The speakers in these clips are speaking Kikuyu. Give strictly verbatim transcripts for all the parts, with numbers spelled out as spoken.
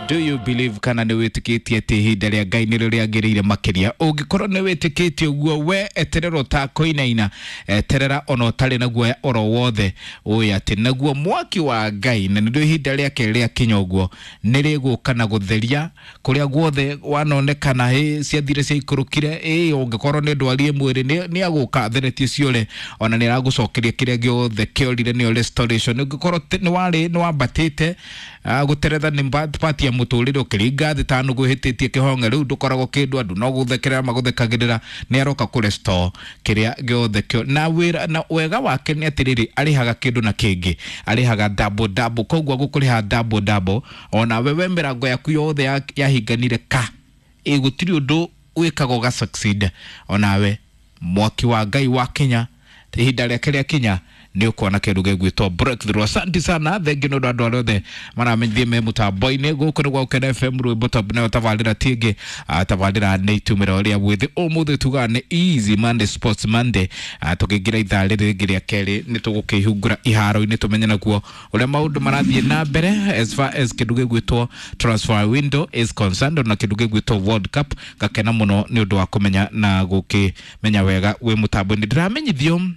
Do you believe kana nĩ wĩtĩkĩtie atĩ ihinda rĩa Ngai nĩrĩo rĩagĩrĩire makĩria? Ũngĩkorwo nĩ wĩtĩkĩtie ũguo, we eterera ũtakũinaina, eterera ona ũtarĩ na guoya oro wothe, ũĩ atĩ naguo mwaki wa Ngai na nĩrĩo ihinda rĩake rĩakinya ũguo nĩ rĩgũka na gũtheria kũrĩa guothe wanonekana ĩ ciathire ciaikũrũkire, ĩ ũngĩkorwo nĩ ndwari mwĩrĩ nĩ nĩ agũka atheretie ciore, ona nĩ aragũcokeria kĩrĩa gĩothe kĩorire, nĩyo restoration. Ũngĩkorwo nĩ warĩ nĩ wambatĩte gũteretha nĩ part ya mũtũrĩre ũkĩringa thĩ ta nũgũ ĩhĩtĩtie kĩhonge, rĩu ndũkoragwo kĩndũ, andũ no gũthekerera magũthekagĩrĩra, nĩ aroka kũ restore kĩrĩa gĩothe kĩo na wĩra. Na wega wake nĩ atĩrĩrĩ, arĩhaga kĩndũ na kĩngĩ, arĩhaga double double, koguo agũkũrĩha double double. Ona wewe mĩrango yaku yothe yahinganire ka ĩ gũtirĩ ũndũ wĩkaga ũga succeed, onawe mwaki wa Ngai wakinya, ihinda rĩake rĩakinya, nĩ ũkuona kĩndũ gĩgwĩtwo breakthrough. Asante sana, thengi nĩ ũndũ andũ arĩa othe maramenyithie me mũtambo-inĩ gũkũ nĩ gwa Gũkena F M, rwĩmbo top nayo tabarĩra tingĩ tabarĩra nĩ itumĩro rĩa mwĩthĩ. Ũmũthĩ tugaga nĩ Easy Monday, Sports Monday. Tũkĩingĩra ithaa rĩrĩ rĩngĩ rĩa kerĩ nĩ tũgũkĩhungura iharo-inĩ tũmenye naguo ũrĩa maũndũ marathiĩ na mbere as far as kĩndũ gĩgwĩtwo transfer window is concerned na kĩndũ gĩgwĩtwo World Cup. Gakena mũno nĩ ũndũ wa kũmenya na gũkĩmenya wega wĩ mũtambo-inĩ. Ndĩramenyithio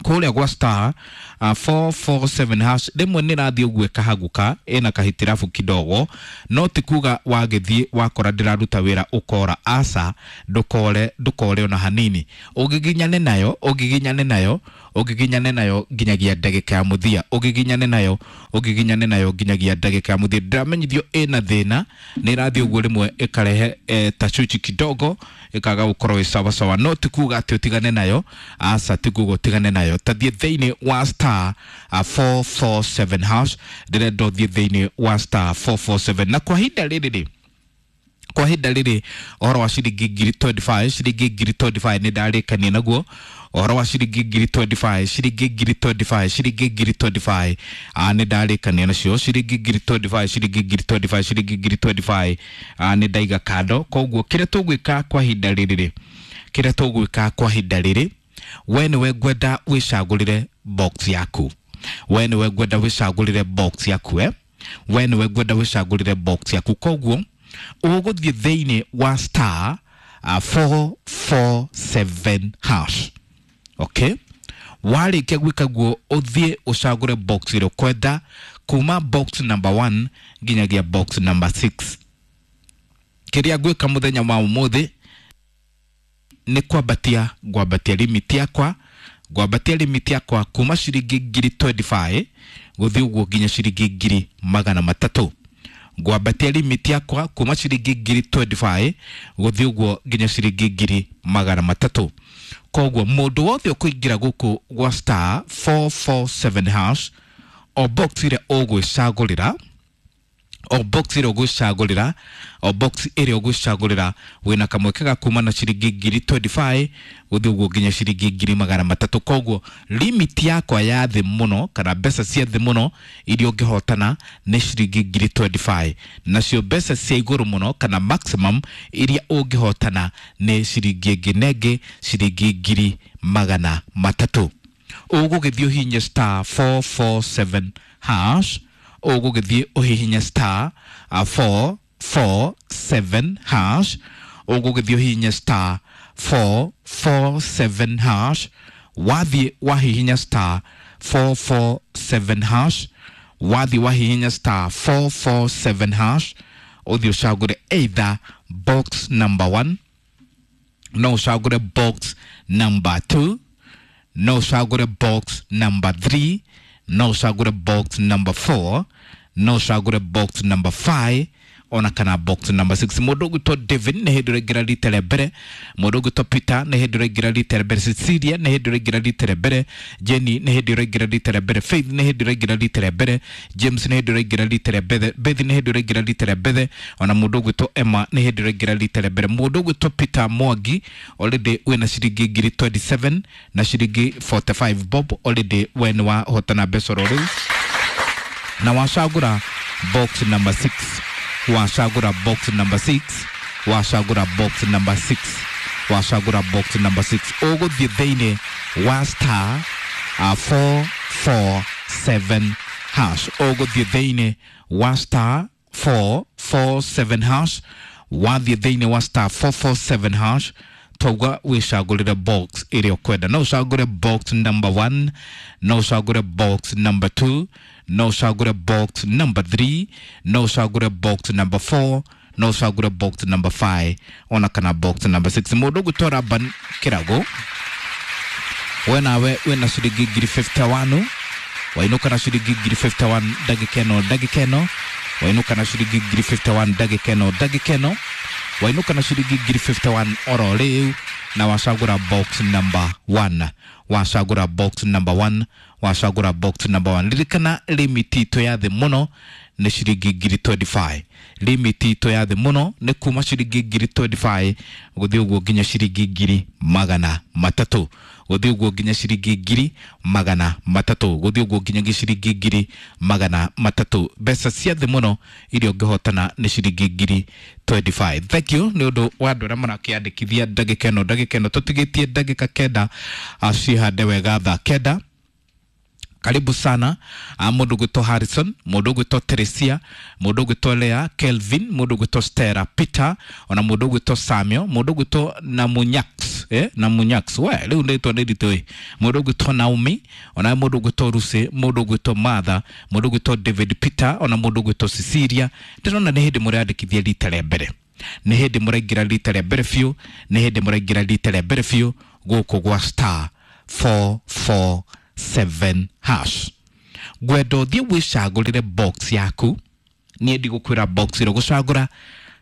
kũrĩa gwa star uh, four four seven hash rĩmwe nĩ rathiĩ ũguo ĩkahaguka ĩna kahitirabu kidogo, no ti kuga wagĩthiĩ wakora ndĩraruta wĩra ũkora, aca, ndũkore, ndũkore ona hanini. Ũgiginyane nayo, ũgiginyane nayo, ũgiginyane nayo nginyagia ndagĩka ya mũthia, ũgiginyane nayo, ũgiginyane nayo nginyagia ndagĩka ya mũthia. Ndĩramenyithio ĩna thĩna, nĩ ĩrathiĩ ũguo rĩmwe ĩkarehe eh, tachuchi kidogo, ĩkaga gũkorwo ĩ sawa sawa, no ti kuga atĩ ũtigane nayo, aca, ti kuga ũtigane nayo. Tathiĩ thĩinĩ wa star uh, four four seven hash, ndĩrenda ũthiĩ thĩinĩ wa star four four seven. Na kwa ihinda rĩrĩ rĩ, kwa ihinda rĩrĩ ũhoro wa ciringi ngiri twenty five, ciringi ngiri twenty five nĩ ndarĩkania naguo ũhoro wa ciringi ngiri twenty five, ciringi ngiri twenty five, ciringi ngiri twenty five nĩ ndarĩkania nacio ciringi ngiri twenty five, ciringi ngiri twenty five, ciringi ngiri twenty five nĩ ndaiga kando. Koguo kĩrĩa tũgwĩka kwa ihinda rĩrĩ rĩ, kĩrĩa tũgwĩka kwa ihinda rĩrĩ, we nĩwe ngwenda wĩcagũrĩre box yaku, we nĩwe ngwenda wĩcagũrĩre box yaku, eh? We nĩwe ngwenda wĩcagũrĩre box yaku. Koguo ũgũthiĩ thĩinĩ wa star uh, four four seven hash. Okay, warĩkia gwĩka guo ũthiĩ ũcagũre box ĩrĩa ũkwenda kuma box number one nginyagia box number six. Kĩrĩa ngwĩka mũthenya wa ũmũthĩ nĩ kwambatia, ngwambatia limit yakwa, ngwambatia limit yakwa kuma ciringi ngiri twenty five gũthiĩ ũguo nginya ciringi ngiri magana matatũ. Ngwambatia limit yakwa kuma ciringi ngiri twenty five gũthiĩ ũguo nginya ciringi ngiri magana matatũ. Koguo mũndũ wothe ũkũingĩra gũkũ gwa star four four seven hash, o box ĩrĩa ũgwĩcagũrĩra, o box ĩrĩa ũgwĩcagũrĩra, o box ĩrĩa ũgwĩcagũrĩra wĩna kamweke ga kuma na ciringi ngiri twenty five gũthiĩ ũguo nginya ciringi ngiri magana matatũ. Koguo limit yakwa ya thĩ mũno kana mbeca cia thĩ mũno iria ũngĩhotana nĩ ciringi ngiri twenty five, nacio mbeca cia igũrũ mũno kana maximum iria ũngĩhotana nĩ ciringi ĩngĩ na ĩngĩ ciringi ngiri magana matatũ. Ũgũgĩthiĩ ũhihinye star four four seven hash, ũgũgĩthiĩ ũhihinye star four four seven hash, ũgũgĩthiĩ ũhihinye star four four seven hash. Wathiĩ wahihinya star four four seven hash, wathiĩ wahihinya star four four seven hash, ũthiĩ ũcagũre either box number one, no ũcagũre box number two, no ũcagũre box number three, no ũcagũre box number four, no ũcagũre box number five, ona kana box number six. Mũndũ ũgwĩtwo David nĩ hĩndĩ ũraingĩra rita rĩa mbere, mũndũ ũgwĩtwo Peter nĩ hĩndĩ ũraingĩra rita rĩa mbere, Cecilia nĩ hĩndĩ ũraingĩra rita rĩa mbere, Jenny nĩ hĩndĩ ũraingĩra rita rĩa mbere, Faith nĩ hĩndĩ ũraingĩra rita rĩa mbere, James nĩ hĩndĩ ũraingĩra rita rĩa mbere, Beth nĩ hĩndĩ ũraingĩra rita rĩa mbere, ona mũndũ ũgwĩtwo Emma nĩ hĩndĩ ũraingĩra rita rĩa mbere. Mũndũ ũgwĩtwo Peter Mwangi already wĩna ciringi ngiri twenty seven na ciringi forty five bob, already we nĩ wahotana mbeca oro rĩu na wacagũra box number six, wacagũra box number six, wacagũra box number six, wacagũra box number six. Ũgũthiĩ thĩinĩ wa star uh, four four seven hash, ũgũthiĩ thĩinĩ wa star four four seven hash. Wathiĩ thĩinĩ wa star four four seven hash, twauga wĩcagũrĩre box ĩrĩa ũkwenda. No ũcagũre box number one, no ũcagũre box number two, no ũcagũre box number three, no ũcagũre box number four, no ũcagũre box number five, ona kana box number six. Mũndũ ũgwĩtwo Laban Kĩrago, we nawe wĩna ciringi ngiri fifty one, wainũka na ciringi ngiri fifty one ndagĩka ĩno ndagĩka ĩno, wainũka na ciringi ngiri fifty one ndagĩka ĩno ndagĩka ĩno, wainũka na ciringi ngiri fifty one oro rĩu, na wacagũra box number one, wacagũra box number one, wacagũra box number one. Ririkana limit itũ ya thĩ mũno nĩ ciringi ngiri twenty five. Limit itũ ya thĩ mũno nĩ kuma ciringi ngiri twenty five gũthiĩ ũguo nginya ciringi ngiri magana matatũ, gũthiĩ ũguo nginya ciringi ngiri magana matatũ, gũthiĩ ũguo nginya ciringi ngiri magana matatũ. Mbeca cia thĩ mũno iria ũngĩhotana nĩ ciringi ngiri twenty five. Thank you nĩ ũndũ wa andũ arĩa marakĩandĩkithia ndagĩka ĩno ndagĩka ĩno. Tũtigĩtie ndagĩka kenda cihande wega thaa kenda. Karibu sana mũndũ ũgwĩtwo Harrison, mũndũ ũgwĩtwo Teresia, mũndũ ũgwĩtwo Lea Kelvin, mũndũ ũgwĩtwo Stella Peter, ona mũndũ ũgwĩtwo Samuel, mũndũ ũgwĩtwo Namunyax, eh Namunyax, we rĩu ndĩtwa nĩ ritũ ĩ, mũndũ ũgwĩtwo Naomi, ona mũndũ ũgwĩtwo Lucy, mũndũ ũgwĩtwo Martha, mũndũ ũgwĩtwo David Peter, ona mũndũ ũgwĩtwo Cecilia. Ndĩrona nĩ hĩndĩ mũrandĩkithia rita rĩa mbere, nĩ hĩndĩ mũraingĩra rita rĩa mbere biũ, nĩ hĩndĩ mũraingĩra rita rĩa mbere biũ gũkũ gwa star four four seven hash. Ngwenda ũthiĩ wĩcagũrĩre box yaku. Niĩ ndigũkwĩra box ĩrĩa ũgũcagũra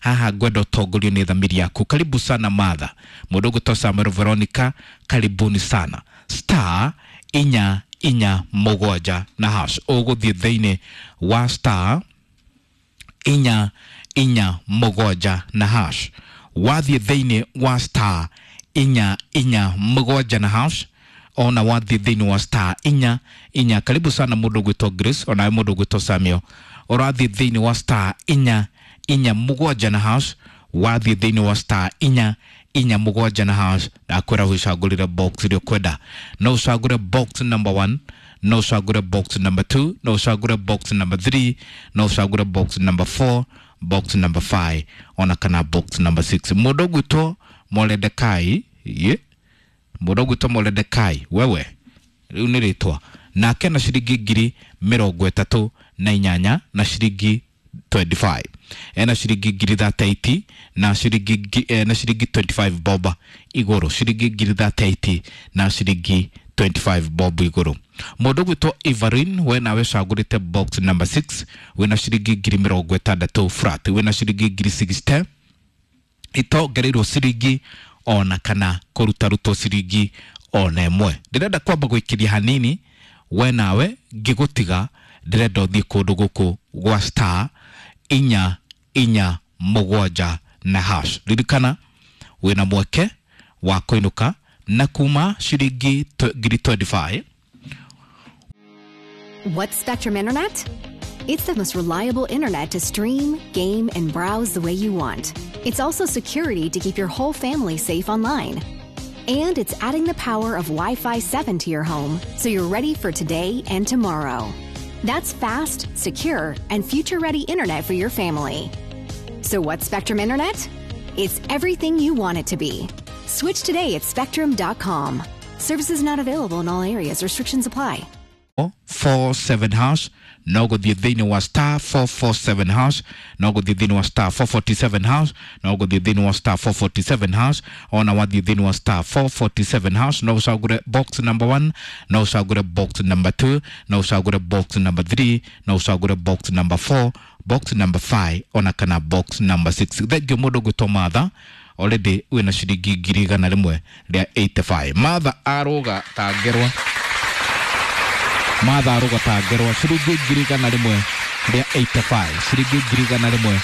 haha, ngwenda ũtongorio nĩ thamiri yaku. Karibu sana Martha, mũndũ ũgwĩtwo Samuel Veronica, karibuni sana. Star inya inya mũgwanja na hash. Ũgũthiĩ thĩinĩ wa star inya inya mũgwanja na hash. Wathiĩ thĩinĩ wa star inya inya mũgwanja na hash, ona wathiĩ thĩinĩ wa star inya inya. Karibu sana mũndũ ũgwĩtwo Grace, ona mũndũ ũgwĩtwo Samuel. Ũrathiĩ thĩinĩ wa star inya inya mũgwanja na hash, wathiĩ thĩinĩ wa star inya inya mũgwanja na hash, ndakwĩra wĩcagũrĩre box ĩrĩa ũkwenda. No ũcagũre box number one, no ũcagũre box number two, no ũcagũre box number three, no ũcagũre box number four, box number five, ona kana box number six. Mũndũ ũgwĩtwo Moredekai, ye mũndũ ũgwĩtwo Moredekai, wewe rĩu nĩ rĩtwa nake, na ciringi ngiri mĩrongo ĩtatũ na inyanya na ciringi twenty five, ena ciringi ngiri thirty eight na ciringi eh, na ciringi twenty five bob igũrũ, ciringi ngiri thirty eight na ciringi twenty five bob igũrũ. Mũndũ ũgwĩtwo Everin, we nawe cagũrĩte box number six, wĩna ciringi ngiri mĩrongo ĩtandatũ flat, wĩna ciringi ngiri sixty itongereirwo ciringi ona kana kũrutarutwo ciringi ona ĩmwe. Ndĩrenda kwamba gwĩkĩria hanini, we nawe ngĩgũtiga ndĩrenda ũthiĩ kũndũ gũkũ gwa star inya inya mũgwanja na hash. Ririkana wĩna mweke wa kũinũka na kuma ciringi ngiri twenty five. What's Spectrum Internet? It's the most reliable internet to stream, game, and browse the way you want. It's also security to keep your whole family safe online. And it's adding the power of Wi-Fi seven to your home, so you're ready for today and tomorrow. That's fast, secure, and future-ready internet for your family. So what's Spectrum Internet? It's everything you want it to be. Switch today at spectrum dot com. Services not available in all areas. Restrictions apply. four seven hash, no gũthiĩ thĩinĩ wa star four four seven hash, no gũthiĩ thĩinĩ wa star four forty seven hash, no gũthiĩ thĩinĩ wa star four forty seven hash, ona wathiĩ thĩinĩ wa star four forty seven hash, no ũcagũre box number one, no ũcagũre box number two, no ũcagũre box number three, no ũcagũre box number four, box number five, ona kana box number six. Thank you mũndũ ũgwĩtwo Martha, already wĩna ciringi ngiri igana rĩmwe rĩa eighty five. Martha arũga ta ngerwa, Martha arũga ta ngerwa, ciringi ngiri igana rĩmwe rĩa eighty five, ciringi ngiri igana rĩmwe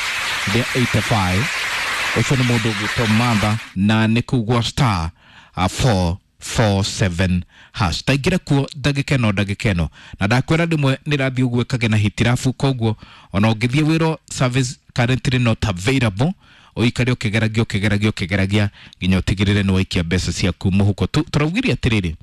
rĩa eighty five. Ũcio nĩ mũndũ ũgwĩtwo Martha na nĩ kũu gwa star four four seven hash. Taingĩra kuo ndagĩka ĩno ndagĩka ĩno, na ndakwĩra rĩmwe nĩ rathiĩ ũguo ĩkagĩa na hitirabu, koguo ona ũngĩthiĩ wĩrwo service currently not available, Ũikare ũkĩgeragia ũkĩgeragia ũkĩgeragia nginya ũtigĩrĩre nĩ waikia mbeca ciaku mũhuko. Tũraugire atĩrĩrĩ,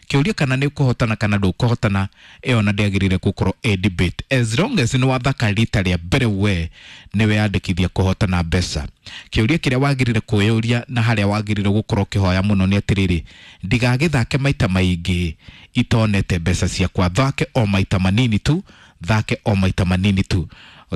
kĩũria kana nĩ ũkũhotana kana ndũkũhotana, ĩyo na ndĩagĩrĩire gũkorwo ĩ debate. As long as nĩ wathaka rita rĩa mbere, we nĩ weyandĩkithia kũhotana mbeca. Kĩũria kĩrĩa wagĩrĩire kwĩyũria na harĩa wagĩrĩire gũkorwo ũkĩhoya mũno nĩ atĩrĩrĩ, ndigagĩthake maita maingĩ itonete mbeca ciakwa, thake o maita manini tu, thake o maita manini tu.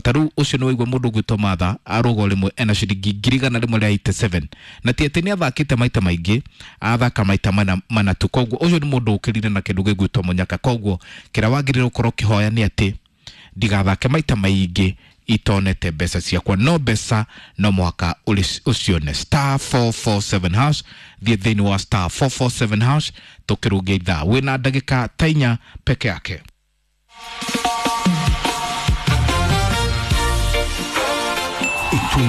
Ta rĩu ũcio nĩ waigua mũndũ ũgwĩtwo Martha arũga rĩmwe ena ciringi ngiri igana rĩmwe rĩa eighty-seven, na ti atĩ nĩ athakĩte maita maingĩ, athaka maita mana, mana tu. Koguo ũcio nĩ mũndũ ũkĩrire na kĩndũ gĩgwĩtwo mũnyaka. Koguo kĩrĩa wagĩrĩire gũkorwo ũkĩhoya nĩ atĩ ndigathake maita maingĩ itonete mbeca ciakwa, no mbeca no mũhaka ũcione. Star four four seven hash, thiĩ thĩinĩ wa star four four seven hash, tũkĩrũngia ithaa wĩna ndagĩka ta inya peke yake.